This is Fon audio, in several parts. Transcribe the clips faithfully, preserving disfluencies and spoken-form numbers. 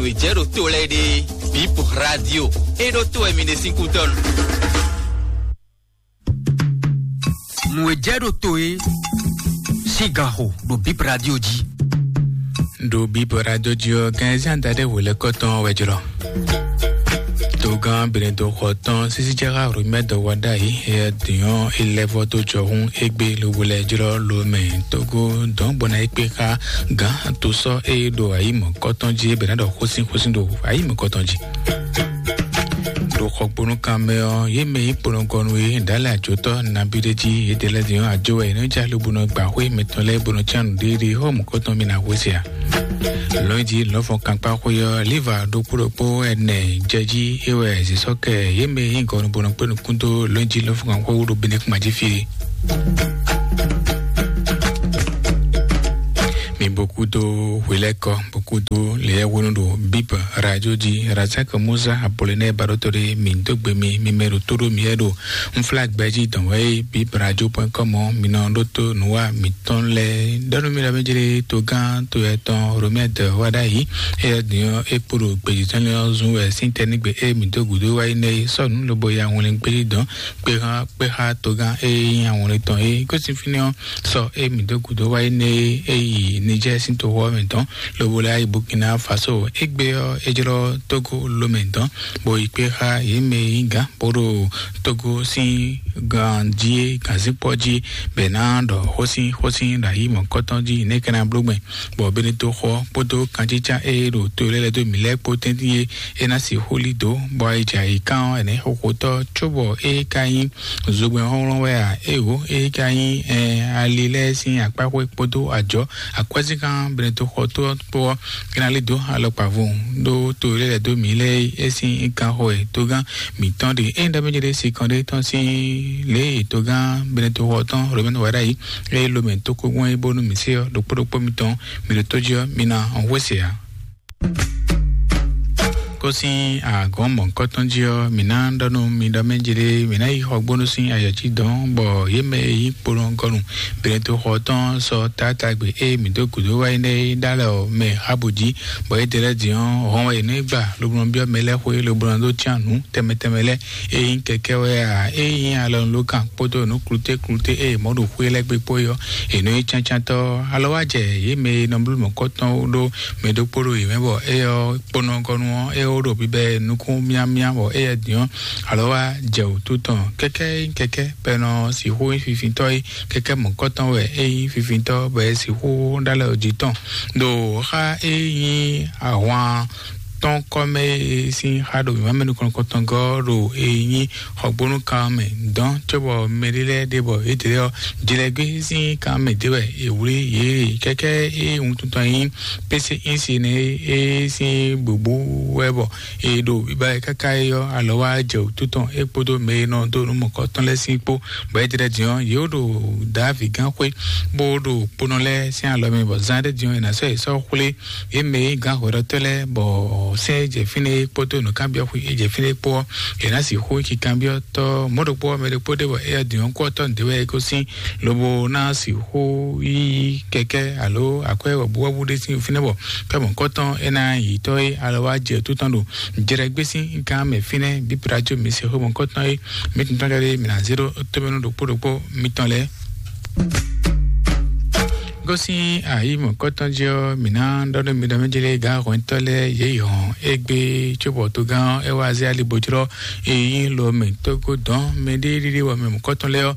Jɛ ɖo to lɛ ɖe, Bip Radio. E ɖo to wɛ mi ɖe sín kútɔnu. Nǔ e jɛ ɖo to e sín gan xo ɖo Bip Radio jí. Ɖo Bip Radio jí ɔ́, gan ɛ zán da ɖé hwelɛ́kɔ tɔn wɛ jlɔ. Togán Benedɔxɔ tɔn sísíjɛ́xá Romɛdɔ wa ɖ'ayǐ, é dǐn ɔ́, é lɛ́ vɔ́ dó jɔhún égbé lobo lɛ́ jlɔ́ lomɛ Togo dɔn bɔ ná é kpé xá gǎn to sɔ́ é ɖo ayǐ mɔ̌kɔtɔn jí é bɛ ná ɖɔ xósin xósin ɖo ayǐ mɔ̌kɔtɔn jí. Ɖo xɔgbónúkan mɛ ɔ́, yě mɛ yí kponɔgɔnu e ɖǎlɛ ajotɔ́ nabí ɖé jí yědɛɛ lɛ́ɛ din ɔ́, ajo wɛ yě nɔ ja lobo nɔ gba xwé mɛtɔn lɛ́ɛ bó nɔ cyán nǔɖéɖé xɔ mɔ̌kɔtɔn mi ná hwesɛ ǎ. Lɔ̌nyijǐ lɔ̌nfɔn kankpá xwé ɔ́, Liva ɖokpó ɖokpó ɛnɛ jɛ jí é wɛ zǐsɔ́kɛ yě mɛ yí gɔnu bó nɔ kpé nukún dó lɔ̌nyijǐ lɔ̌nfɔn kankpá xwé wú ɖo Benɛkuma jí fí. Mi bó kúdó hwelɛ́kɔ, bó kúdó leyɛ́hwenu ɖo Bíbel Radio jí. Razak Musa Apollinée Baɖótó ɖé mi dó gbe mi, mi mɛ ɖo tó ɖó mi yɛ ɖo Nflá gbɛjí dɔn wɛ é, Bib Radio point com ɔ́, mi nɔ ɖótó nǔwa mǐtɔn lɛ́ɛ. Ɖɔnú mi ɖɔ mí jlé togán to yɛ tɔn Romɛ́ɛ dɔ̌ wá ɖ'ayǐ. Éyɛ́ din ɔ́, é kpo ɖo gbějí tɔn lɛ́ɛ ɔ́ zun wɛ sín tɛ́ nígbe e mǐ dó gǔdo wá yi nɛ́ é sɔ́ nǔ lobo ya wlin gbéjí dɔn kpé xá kpé xá togán e nyí awlin tɔn é. Gosín fínɛ́ ɔ́, sɔ́ e mǐ dó gǔdo wá yi nɛ́ é yi Nijɛ́ɛ sín toxo ɔ́ mɛ dɔn, lobo lɛ́ yi Burkina Faso. Égbé ɔ́, é jlɔ́ Tógó lomɛ dɔn, bó yi kpé xá yě mɛ e nyí gǎn bó ɖo Togo sín ganjí é ganzínkpɔ́ jí, bɔ è nǎ ɖɔ xósin xósin ɖo ayǐ mɔ̌kɔtɔn jí, nɛ̌ é ka ná bló gbɛn, bɔ Benetoxɔ kpódó kanjínján e ɖo to lɛ́ɛ lɛ́ɛ dó mǐ lɛ́ɛ kpó tɛ́ntin é, é ná sixú lí dǒ, bɔ ayǐjǎyǐkan ɔ́, è nǎ yi xo xotɔ́, cóbɔ é ka nyí zogbɛ́nxɔ́nxɔ́n wɛ a? Éeǒ, é ka nyí, ɛɛ, ali lɛ́ɛ sín akpáxwé kpódó ajɔ̌, akwɛ́zínkan Benetoxɔ tó ɔ́ kpó ɔ́, é ná lí dǒ alɔkpavun ɖó to e lɛ́ lɛ̌ dó mǐ lɛ́ɛ é sín kanxɔ e togán mǐtɔn ɖe. Ényí ɖɔ mɛ jɛ ɖe sinkɔn ɖé tɔn sín lě e togán Benetoxɔ tɔn Romɛ́nu wa ɖ'ayǐ, ée lomɛ tókó gbɔn é bónú mǐ se ɔ́, ɖokpó ɖokpó mitɔn, mǐ ɖo tó jí ɔ́, mi ná hwesɛ ǎ. Kó sín agɔ̌n mɔ̌hunkɔtɔn jí ɔ́, mǐ ná ɖɔ nú mi ɖɔ mɛ jlé, mǐ ná yi xɔgbónú sín ayɔ̌ jí dɔn, bɔ yě mɛ e nyí kponɔgɔnu Benetoxɔ tɔn sɔ́ taátagbe e mǐ dó gǔdo wá yi nɛ́ é ɖó alɔ mɛ Ahabu jí, bɔ é ɖe lɛ́ɛ din ɔ́, hɔn wɛ yě nɔ yi gba, lobo nɔ byɔ́ mɛ lɛ́ɛ xwé, lobo nɔ dó cyán nǔ tɛnmɛ tɛnmɛ lɛ́ɛ. Ényí kɛkɛ́ wɛ a, ényí alɔnulókan kpódó nǔ klúté klúté e è mɔ ɖo xwé lɛ́ɛ gbe kpó é ɔ́, è nɔ nyí cáncántɔ́. Alɔ wá jɛ yě mɛ e nɔ bló mɔ̌kɔtɔn ó ɖó mɛ ɖokpó ɖo yě mɛ, bɔ éyɛ́ ɔ́ kponɔgɔnu ɔ́, é ó ɖo bibɛ nukún myámyá, bɔ éyɛ́ din ɔ́, alɔ wá jɛ wǔtu tɔn. Kɛkɛ́ ényí kɛkɛ́ bɔ è nɔ sixú nyí fifintɔ́ é, kɛkɛ́ mɔ̌kɔtɔn wɛ é nyí fifintɔ́, bɔ è sixú ɖó alɔ jí tɔn. Ɖo xá e nyí ahwan tɔn kɔ́ mɛ e sín xá ɖo mǐmá mɛ nukɔn nukɔntɔn gɔ́ ɖo e nyí xɔgbónú kan mɛ dɔn, cóbɔ mɛɖé lɛ́ɛ ɖe bɔ yědɛɛ ɔ́, jlɛgbé sín kan mɛ ɖé wɛ è wlí yě. Kɛkɛ́ e wuntun tɔn nyí pése ísi nɛ é sín gbogbo wɛ bɔ è ɖo biba ɛ káká é ɔ́, alɔ wá jɛ wǔtu tɔn é kpódó mɛ e nɔ dó nǔ mɔ̌kɔtɔn lɛ́ɛ sín kpó, bɔ yědɛɛ din ɔ́, yě ɖo Davi gán xwé, bó ɖo kponɔ lɛ́ɛ sín alɔ mɛ, bɔ zán ɖé din ɔ́, è nǎ sɔ́ yě sɔ́ xwlé yě mɛ e nyí gǎn hwɛɖɔtɔ́ lɛ́ɛ, bɔ sɛ́n e jɛ fínɛ́ é kpódó nǔkanbyɔ́xwé e jɛ fínɛ́ é kpó ɔ́, è nǎ sixú yi kanbyɔ́tɔ́ mɔ̌ ɖokpó ɔ́, mɛ ɖokpó ɖé bɔ éyɛ́ din ɔ́ kú ɔ́ tɔ́ nǔɖé wɛ é gosín, lobo ná sixú yí kɛkɛ́ alo akwɛ́ wɔ̌buwɔ́bú ɖé sín fínɛ́, bɔ kɛ́ mɔ̌kɔtɔn é ná yi tɔ́ é alɔ wá jɛ tó tɔn ɖo jɛɖɛgbé sín gán mɛ fínɛ́. Bíbla jó mi se xó mɔ̌kɔtɔn é mi tún tɔn jɔ ɖé mi ná zé ɖó tómɛnú ɖokpó ɖokpó mitɔn lɛ́ɛ. Gosín ayǐ mɔ̌kɔtɔn jí ɔ́, mǐ ná ɖɔ nú mi ɖɔ mɛ jlé gǎn hwɛntɔ́ lɛ́ɛ yě yi hɔn égbé, cóbɔ togán ɔ́ é wá zé ali bó jlɔ́ e nyí lo mɛ tógó dɔn mɛɖéɖíɖí wɛ mɛ mɔ̌kɔtɔn lɛ́ɛ ɔ́,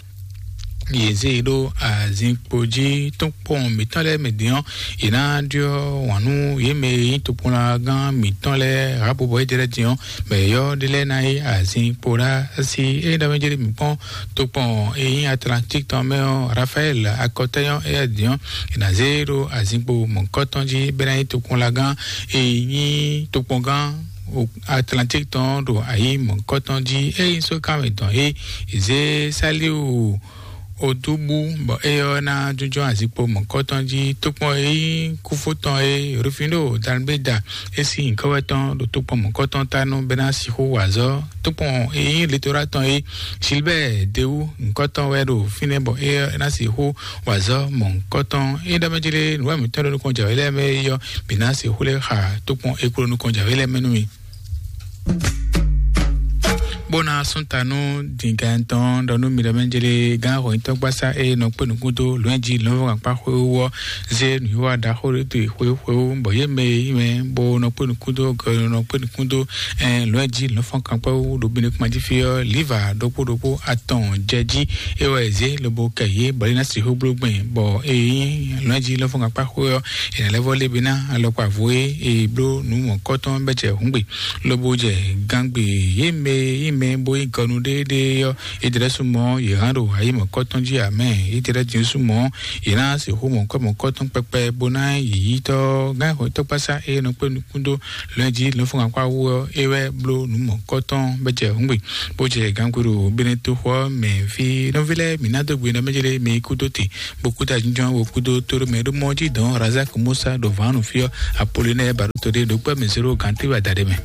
yě zé e ɖó azinkpo jí. Tó kpɔn mǐtɔn lɛ́ɛ mɛ din ɔ́, yě ná ɖyɔ́ wǎn nú yě mɛ e nyí tokpɔnlagán mǐtɔn lɛ́ɛ Rahabu, bɔ é jɛ lɛ́ɛ din ɔ́, mɛ yɔ́ ɖé lɛ́ɛ ná yí azinkpo ɖá sí. Ényí ɖɔ mɛ jlé mǐ kpɔ́n tokpɔn e nyí Atlantík tɔn mɛ ɔ́, Rafaɛl akɔtɛ́nyɔ́ éyɛ́ din ɔ́, è nǎ zé ɖó azinkpo mɔ̌kɔtɔn jí bɔ é ná nyí tokpɔnlagán e nyí tokpɔngán Atlantík tɔn ɖo ayǐ mɔ̌kɔtɔn jí. Ényí sókanmɛ tɔn é zé Saliu Odubu, bɔ é ɔ́ ná jínjɔ́n azikpo mɔ̌kɔtɔn jí. Tókpɔn e nyí kúfó tɔn e Rufino Dalbeda é sín nyǐkɔ wɛ tɔn ɖo tókpɔn mɔ̌kɔtɔn ta nú bɛ́ ná sixú wa azɔ̌. Tókpɔn e nyí Litora tɔn e Gilbert Dewu nyǐkɔ tɔn wɛ ɖo fínɛ́, bɔ é ɔ́ ná sixú wa azɔ̌ mɔ̌kɔtɔn. É ɖɔ mɛ jlé nǔ wa mǐtɔn ɖo nukɔn jǎwe lɛ́ɛ mɛ é ɔ́, mǐ ná sixú lɛ́ xa tókpɔn e kpló nukɔn jǎwe lɛ́ɛ mɛ nú mi. Bó ná sún ta nú dǐngán tɔn ɖɔ nú mi ɖɔ mɛ jlé gán xɔnyitɔ́ gbásá e nɔ kpé nukún dó lɔ̌nji lɔ̌nfɔ́n akpá xwé wú ɔ́ zé nǔwiwa ɖaxó ɖé dó xwé xwé wú, bɔ yě mɛ e nyí mɛ bó nɔ kpé nukún dó gɛ nɔ kpé nukún dó lɔ̌nji lɔ̌nfɔ́n kankpá wú ɖo bínú kpán jí fí ɔ́, liva ɖokpó ɖokpó atɔn jɛ jí é wɛ zé lobo kɛ yě bɔ lé ná sixú bló gbɛn, bɔ e nyí lɔ̌nji lɔ̌nfɔ́n kankpá xwé ɔ́, è nǎ lɛ́ vɔ lé bí ná alɔkpa vo e è bló nǔ mɔ̌kɔtɔn bɛ́ jɛ hǔngbe lobo jɛ gangbe yě mɛ e nyí mɛ bó nyí gɔnu ɖéeɖée ɔ́, é ɖlɛ́ súnmọ́ yě hán ɖo ayǐ mɔ̌kɔtɔn jí amɛ. É ɖlɛ́ din súnmọ́ yě ná sixú mɔ̌kɔ mɔ̌kɔtɔn kpɛkpɛ bó ná yǐyítɔ́ gán xɔ́ntɔ́kpásá e nɔ kpé nukún dó lɔ̌nji lɔ̌nfɔ́n akpá wú ɔ́, é wɛ bló nǔ mɔ̌kɔtɔn bɛ́ jɛ hǔngbe bó jɛ gangbe ɖo Benetoxo ɔ́ mɛ. Fí nɔví lɛ́ɛ mǐ ná dó gbe nɔ mɛ jlé mi kú dó te bó kú ta jínjɔ́n wo kúdó tóɖó mɛ ɖó mɔ jí dɔn Razak Musa ɖo vǎnu fí ɔ́, Apolinɛ́ɛ Baɖóto ɖé ɖo kpɛ́ mɛ zéro gǎn téwú adaɖé mɛ.